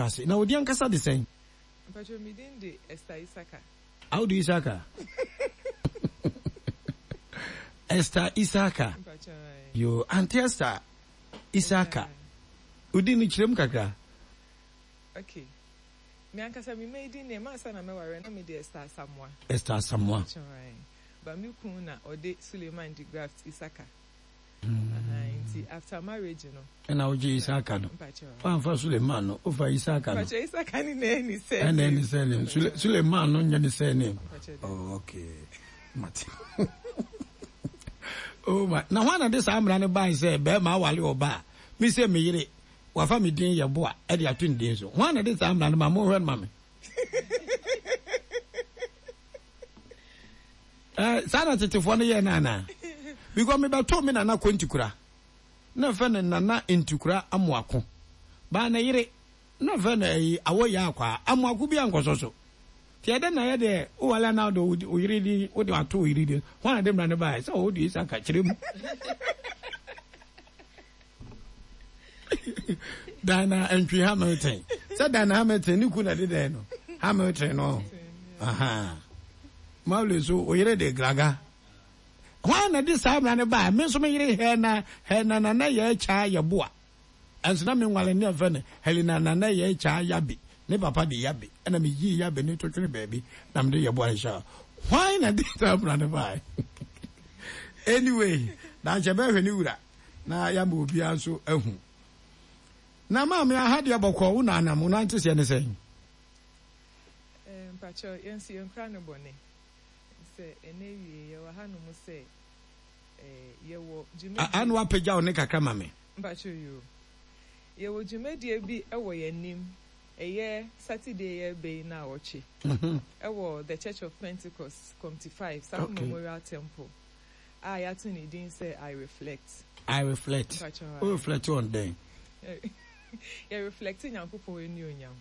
Ase. Na wo din ankasa de sɛn? Mpakyɛw me din de Esther Isaka. Audu Isaka? Esther Isaka. Mpakyɛw ae. Yoo, Auntie Esther Isaka. Wo din no kyerɛ mu kakra. Okay. Me ankasa me maiden name ansa na mɛware na me de Esther Asamoah. Esther Asamoah. Mpakyɛw ae. But me kun na ɔde Suleiman de Graft Isaka. Nti after marriage no. Ɛna wogye Isaka no. Wamfa Suleiman no, wofa Isaka no. Mpakyɛ Isaka ne na ɛni surname. Ɛna ɛni surname. Sule Suleiman no nyɛ ne surname. Oh, okay. Mate. Oh my. Na hwan na de saa mmara no bae sɛ bɛrima awale ɔba a, me sɛ me yere wafa me din yɛ boa ɛde ato ne din so. Hwan na de saa mmara no ma monhwɛ no ma me. Eh, saa na tetefoɔ no yɛɛ no anaa? Because mebɛtoo me nana Kontikura, na ɛfɛ no Nana Ntikura Amoako. Baa ne yere, na ɛfɛ no ɛyi Awoyɛ Akwaa. Amoako bi ankɔsɔ so. Nti ɛdɛ na yɛ deɛ wowale anaa wode wo yere din, wode ato wo yere din. Hwan na de mmara no baeɛ? Sɛ wode Isaka kyerɛ mu. Diana Antwi Hamilton. Sɛ Diana Hamilton ne ku na de dɛn no? Hamilton no. Aha. Mauli nso o yere de Graga. Hwan na de saa mmara no baa? Me nso me yere Hɛna Hɛna Nana yɛ kyaa yɛ boa. Ɛnso na me nwale ne ɛfɛ no Helena Nana yɛ kyaa yabe. Ne papa de yabe. Ɛna me yii yabe ne to twene baabi na me de yɛ boa no hyɛ. Hwan na de saa mmara no baa? Anyway, daankyɛ bɛhwɛ ne wura. Na yɛama obiara nso ahu. Na maame aha deɛ bɔkɔɔ wo na anam wo nante seɛ ne sɛn? Eh, mpakyɛw, yɛn nso yɛn kura no bɔne. Sɛ ɛnɛ wie yɛwɔ ha nom sɛ eh, yɛwɔ dwumadie. Ano apagya wo ne kakra ma me. Mpakyɛw yoo. Yɛwɔ dwumadie bi wɔ yɛn anim, ɛyɛ Saturday yɛreba yi naawɔtwe, ɛwɔ The Church of Pentecost, Comte 5, Sako Memorial Temple. A yɛato ne din sɛ I Reflect. I Reflect. Mpakyɛw Wo reflect on dɛn? Yɛ reflect Nyankopɔn anuonyam.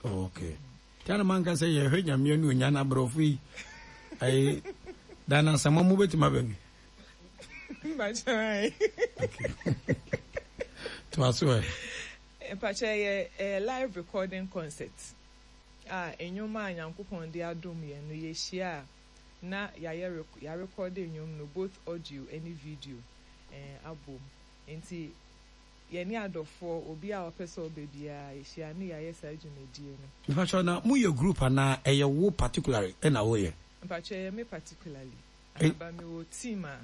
Oh, okay. Tia na manka sɛ yɛhwɛ Nyame anuonyam na aborɔfo yi ayi Dana Asamoah mo bɛtumi aba bi. Mpakyɛw ayi. Okay. Toa so ɛ. Mpakyɛw yɛ ɛyɛ live recording concert a nnwom a Nyankopɔn de adom yɛn no yɛhyia a na yɛayɛ rek yɛarekɔde nnwom no both audio ne video eh abom nti yɛne adɔfoɔ obiara a ɔpɛ sɛ ɔba biara yɛhyia ne yɛayɛ saa dwumadie no. Mpakyɛw na mo yɛ group anaa ɛyɛ wo particularly na wo yɛ? Mpakyɛw ɛyɛ me particularly aha but me wɔ team a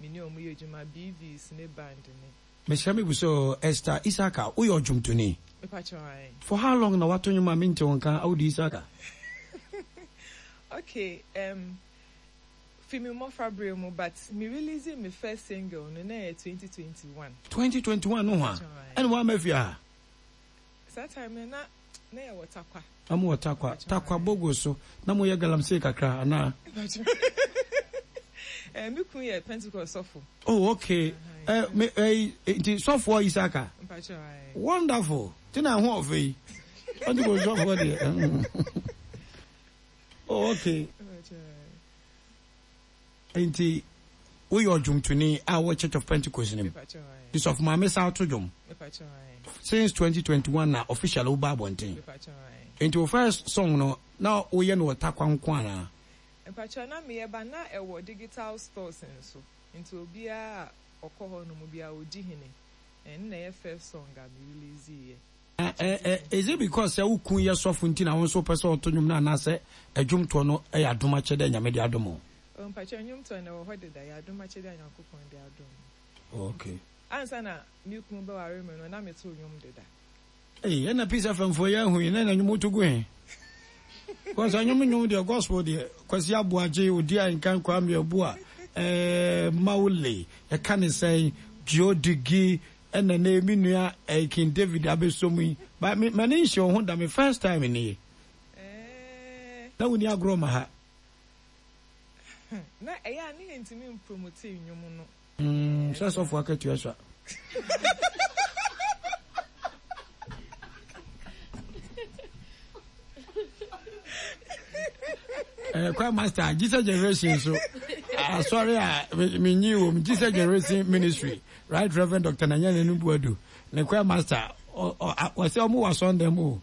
me ne ɔmo yɛ adwuma BVs ne band ne. Mesrɛ me bisa oo Esther Isaka woyɛ ɔdwomtoni? Mepakyɛw ae. For how long na wato nwom a mente wo nka Audu Isaka? Okay um fi me mmɔfra berɛ mu but me release me first single no na ɛyɛ 2021. 2021 no hwa ɛna wamma fie ha? Saa time no na na yɛwɔ Tarkwa. Na mo wɔ Tarkwa, Tarkwa Bogo so na mo yɛ galamsey kakra anaa? Eh, me kun yɛ Pentecost sɔfo. Oh okay, eh, me eh, nti sɔfoɔ Isaka. Mpakyɛw ae. Wonderful, ti na ho ɔfɛ yi. Pentecost sɔfoɔ deɛ. Oh okay. Nti woyɛ ɔdwomtoni a wɔ Church of Pentecost no mu. Nti sɔfo maame san to dwom. Since 2021 na officially woba abɔnten. Nti wo first song no na woyɛ no wɔ Tarkwa nko anaa? Mpakyɛw na meyɛ ba na ɛwɔ digital stores nso nti obiara a ɔkɔ hɔ nom biara odi hene ɛno na ɛyɛ first song a me release yɛ. Na ɛ ɛ is it because sɛ wo kun yɛ sɔfo nti na wo nso wopɛ sɛ ɔto nnwom no anaasɛ ɛdwomtoɔ no yɛ adom akyɛde a Nyame de adom wo? Oh mpakyɛw nnwomtoɔ no ɛwɔ hɔ deda, ɛyɛ adom akyɛde a Nyankopɔn de adom me. Oh okay. Ansa na me kunu bɛware me no na meto nnwom deda. Ei ɛna Peace FM foɔ yɛ ahu yi na ɛna nnwom woto gu he? Because ɛnwom nnwom deɛ gospel deɛ Kwasi Aboagye, Odi Ahenkan, Kwame Abua, eh, Mawule, yɛka ne sɛn, Gio Digi, Ɛna nɛ me nua ɛyi king David abɛsɔ mu yi but me m'ani nhyɛ wo ho da me first time nie na wonni agorɔ ma ha. Na ɛyɛ a ne yɛntumi mpromote nnwom no. Mm, sɛ sɔfo akatua sua. Eh, choir master, Jesus Generation so. Asɔre a menyi wɔ mu Jesus Generation Ministry. Right Reverend Doctor Nanya Nanu Buadu ne choir master ɔsɛ ɔmo wɔ asɔndɛm o.